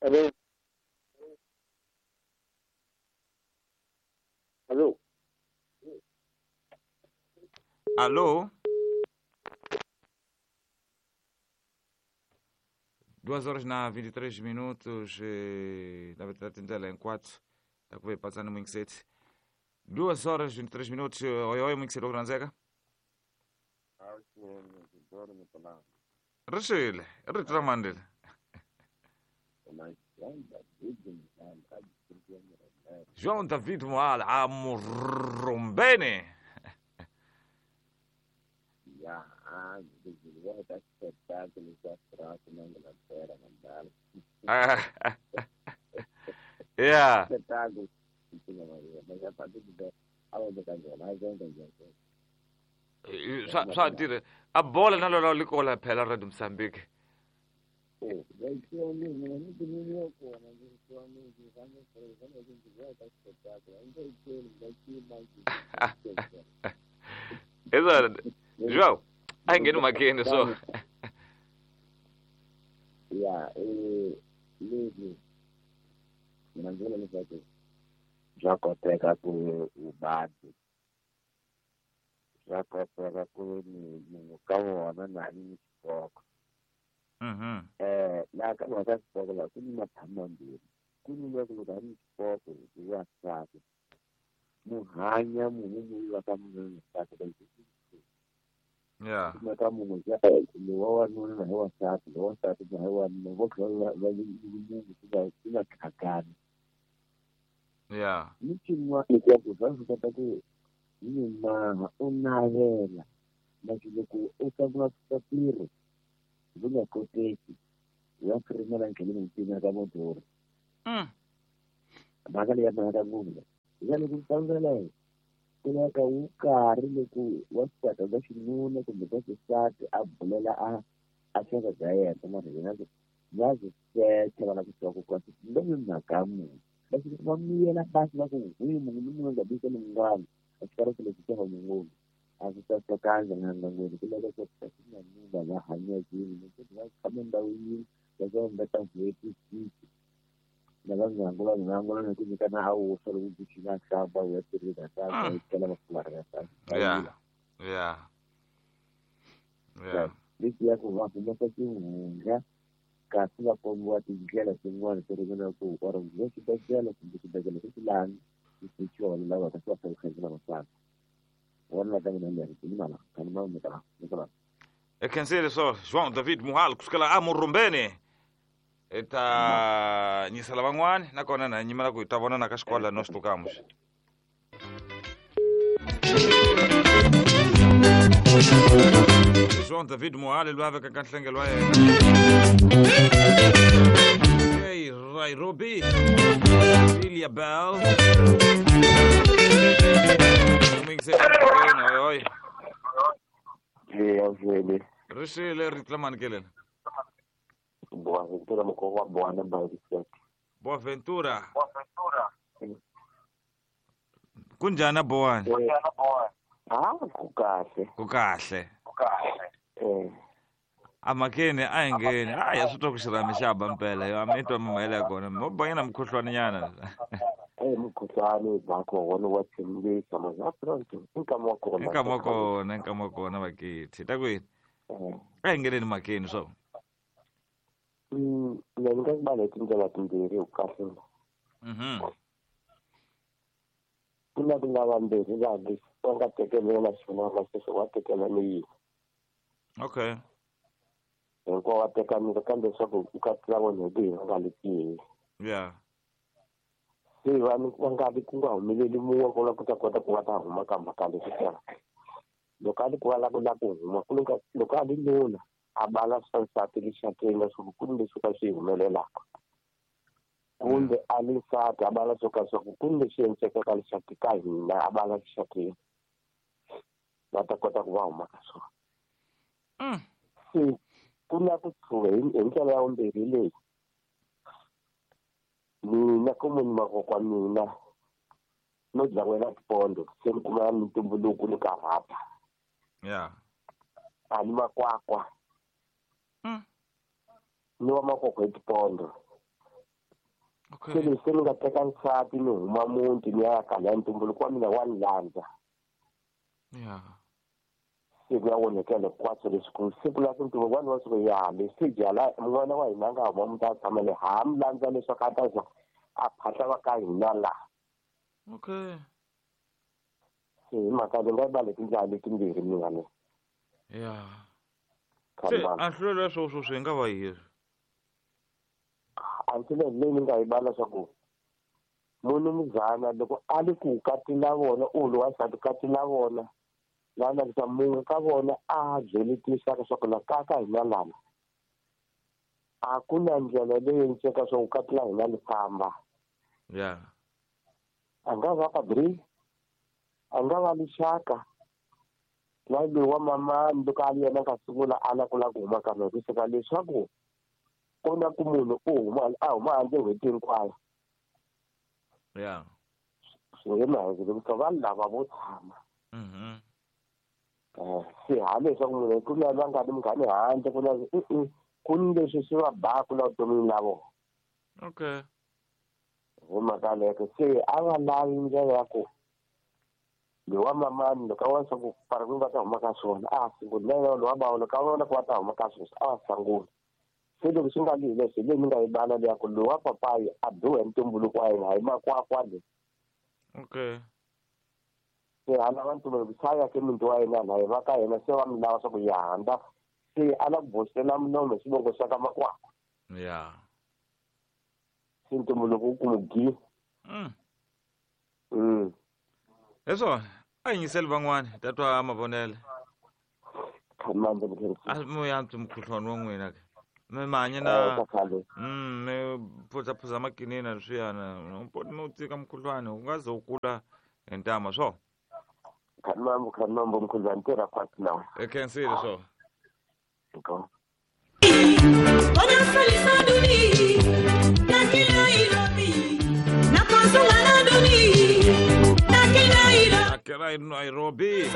Hello. Hello. Alô? 2 horas na 23 minutos, na verdade tentela em 4, tá com passando muito cedo. 2 horas 23 minutos, oi oi muito cedo Granzega. Rishile, ritramandile. João David Moala, amurumbene. Yeah. Só tira a bola na lola likola phela ra Mozambique. Exato. João, aí ninguém numa aqui só. Yeah, já koteka ku ubadi. Já koteka ku ni kawona na ni xipoko. La ka wa ka xipoko la ku ni mathamambirhi. Ku ni loko ka ni xipoko wa sati. Muhanya munhu wa ka munhu sati ka Yeah. Maka munhu ya wa wanuna na wa sati, wa sati na wa wanuna vo khala va munhu ku nga khakani. Yeah. Ni xin'wana ya ku va swi kota ku ni maha u navela na loko u sungula ku ntirho swi nga koteki ya firimela ndleleni ntsena ka motor. Mhaka leyi ya mhaka munhu ya loko u sungula ku lava wu karhi loko wa xisati ka xinuna kumbe ka xisati a bulela a xaka bya yena mara yena va byi secha va lava ku tiva ku kasi lomu mhaka munhu leswi va miyela basi va ku hwi munhu ni munhu nga bisi ni munghana a xi karhi lexi xa munhu a swi sasekanga na ngangweni ku lava ku kasi na munhu va hanya yini ni ku va tshama ndhawu yini va va va ta n'hweti six lava ngangula ngangula ni ku nyikana a wu swa loko ku xi nga hlamba u ya tirhisa ta ku kela va fularha ta. Yeah. Yeah. Yeah. Leswi ya ku va humesa xihundla kasi va kombiwa tindlela tin'wana to ringana ku or le xibedhlele kumbe xibedhlele xi lani xi xona lava kasi va fanele va fana. Wona ka mina leri ni mala kana ma mi ta mi ta. Ekhensile so João David Muhal kusukela amurumbene. Eta nyisela van'wani nakona na nyimela ku hi ta vona na ka xikolo no swi tukamuxa. João David Muhal loyi a vekaka nhlengelo wa yena. Hey, Nairobi. Lilia Bell. Oi oi. Yeah, vele. Rishile ritlamani kelele. Boaventura mukoko wa Boa Boaventura. Kunjani Boani? Ah, kukahle. Kukahle. Amakeni a hi ngheni. A ya swi twa ku xirhami xa ba mpela yo a mi twa mimahele ya kona. Mo banyana mukhuhlwani nyana. Mukhuhlwani bakho wona wa tshembisa mazapronto. Nkama wa kona. Nkama wa kona, nkama wa kona vakithi. Ta kwini? A hi ngheneni makeni swo. Mina ni nga ku va tindlela timbirhi hi kahle. Ku na ku nga vambirhi laha leswi va nga tekelela xona na sweswo wa tekela ni yini. Okay. Hinkwavo va tekanile kambe leswaku u ka tlula vona hi ku hi va nga li. Yeah. Se vanhu va nga vi ku nga humeleli mun'we ku la ku ta kota ku va ta huma ka mhaka leswi xana. Loko a li ku va la ku la ku huma ku loko a li nuna a bala swa nsati lexakeni leswaku ku ni leswi ka swi humelelaka. Kumbe a li nsati a bala swo ka swa ku ku ni leswi endlekaka lexaki ka hina a bala lexakeni. Va ta kota ku va huma ka swona. Se ku na ku tshuka hi ndlela ya vumbirhi leyi. Mina ku munhu makokwa mina no dya wena tipondo se ni kuma mintumbuluko ni karhata. Yeah. A ni makwakwa. Ni wa makokwa hi tipondo. Se leswi se ni nga teka nsati ni huma muti ni ya kala ya ntumbuluko wa mina wa ni landza. Se ku ya onhekela hinkwaswo leswi ku siku la ku ntumbuluko wa ni wa siku ya leswi jala n'wana wa hina a nga huma muti a tshama le ha mi landza leswaku a ta za a phahla va ka hina laha. Okay. Se hi mhaka ni nga yi tindlela letimbirhi mina le. Se a hlwela sweswo swi nga va yini? A ndzi leyi ni nga yi bala swa ku munumuzana loko a li ku katila vona u lowa nsati katila vona lana lesa munhu ka vona a byeli tinxaka swa ku la ka ka hina lana a ku na ndlela leyi nceka swa ku katila hina li famba. A nga va padri, a nga va lixaka na loyi wa mamani loko a li yena nga sungula a la ku la ku huma ka mina kusuka leswaku ku na ku munhu u huma a huma handle n'hweti hinkwayo. Swi nge maheke loko vanhu lava vo tshama. Se ha leswaku munhu ku na va nga ni munghani handle ku na ku ni leswi swi va baku la vutomini la vona. Okay. Hi mhaka leyo se a va lavi ndlela ya ku loyi wa mamani loko a vona swa ku parikuni va ta huma ka swona a sungula na yena loyi wa bawa loko a vona ku va ta huma ka swona a va sangula. Se loko swi nga li hi leswi hi leyi ni nga yi bala leya ku loyi wa papayi a biwa hi ntumbuluko wa yena hayi makwakwa leyi. Okay. Se a lava ntumbuluko se a ya ke muti wa yena laha va ka yena se va mi lava swa ku ya handza se a la ku boxela milomo hi xivongo xa ka makwakwa. Se ntumbuluko wu ku mu gi. Leswo a yingiseli van'wani ta twa mavonelo. Khamandza A mi yantswi mukhuhlwani wa n'wina ke. Mi ma hanya na mi phuzaphuza makinina leswiyana mi wu tika mukhuhlwani wu nga ze wu kula hi ntama swo. Khamambo khamambo mukhuhlwani tirha kwati nawe. E khensile swo. Go. Akela Nairobi.